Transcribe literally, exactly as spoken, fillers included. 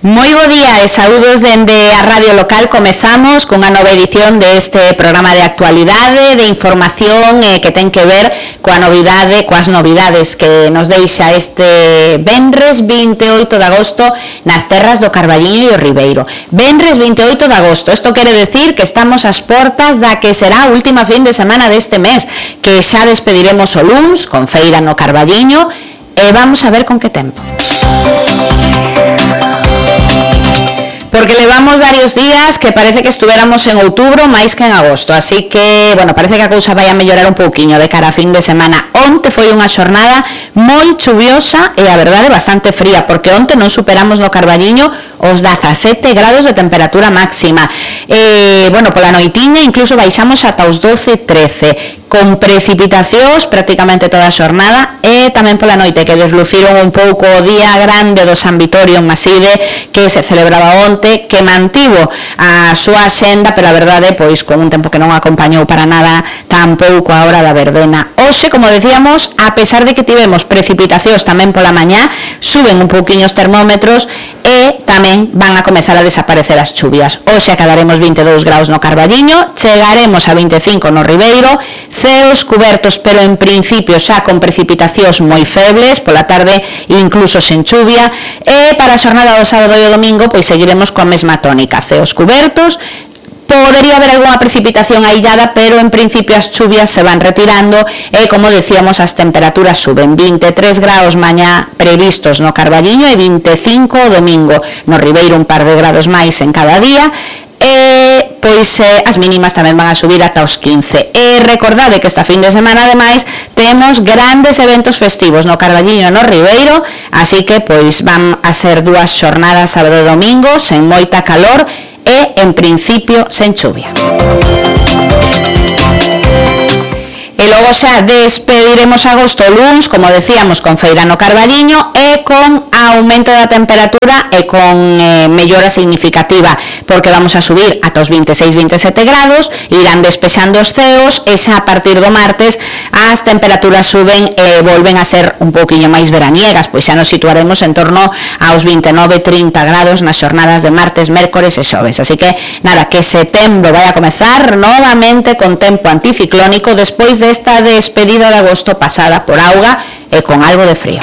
Moi bo día e saúdos dende a radio local. Comezamos cunha nova edición deste programa de actualidade, de información eh, que ten que ver coa novidade, coas novidades que nos deixa este venres vinte e oito de agosto nas terras do Carballiño e o Ribeiro. Venres vinte e oito de agosto, isto quere decir que estamos ás portas da que será a última fin de semana deste mes, que xa despediremos o luns con feira no Carballiño e vamos a ver con que tempo. Porque levamos varios días que parece que estuéramos en outubro máis que en agosto, así que, bueno, parece que a cousa vai a mellorar un pouquiño de cara a fin de semana. Onte foi unha xornada moi chuviosa e a verdade bastante fría, porque onte non superamos no Carballiño os dezasete grados de temperatura máxima. E, bueno, pola noitiña incluso baixamos ata os doce, trece, con precipitacións prácticamente toda a xornada, e tamén pola noite que desluciron un pouco o día grande do San Vitorio en Maside, que se celebraba onte, que mantivo a súa axenda, pero a verdade, pois, con un tempo que non acompañou para nada tampouco a hora da verbena. Hoxe, como decíamos, a pesar de que tivemos precipitacións tamén pola mañá, suben un pouquiño os termómetros e tamén van a comezar a desaparecer as chuvias. Hoxe acadaremos vinte e dous graus no Carballiño, chegaremos a vinte e cinco no Ribeiro, ceos cubertos, pero en principio xa con precipitacións moi febles, pola tarde incluso sen chuvia, e para a xornada do sábado e o domingo pois seguiremos coa mesma tónica, ceos cubertos. Podería haber algunha precipitación aillada, pero en principio as chuvias se van retirando e, como decíamos, as temperaturas suben. vinte e tres graus mañá previstos no Carballiño e vinte e cinco o domingo. No Ribeiro un par de grados máis en cada día. E, pois, eh, as mínimas tamén van a subir ata os quince. E recordade que esta fin de semana, ademais, temos grandes eventos festivos no Carballiño e no Ribeiro, así que, pois, van a ser dúas xornadas sábado e domingo, sen moita calor, e, en principio, sen chuvia. E logo xa despediremos agosto luns, como decíamos, con feira no Carballiño e con aumento da temperatura e con eh, mellora significativa, porque vamos a subir ata os vinte e seis, vinte e sete grados, irán despexando os ceos e xa a partir do martes as temperaturas suben e volven a ser un pouquiño máis veraniegas, pois xa nos situaremos en torno aos vinte e nove, trinta grados nas xornadas de martes, mércores e xoves. Así que, nada, que setembro vai a comezar novamente con tempo anticiclónico despois desta despedida de agosto pasada por auga e con algo de frío.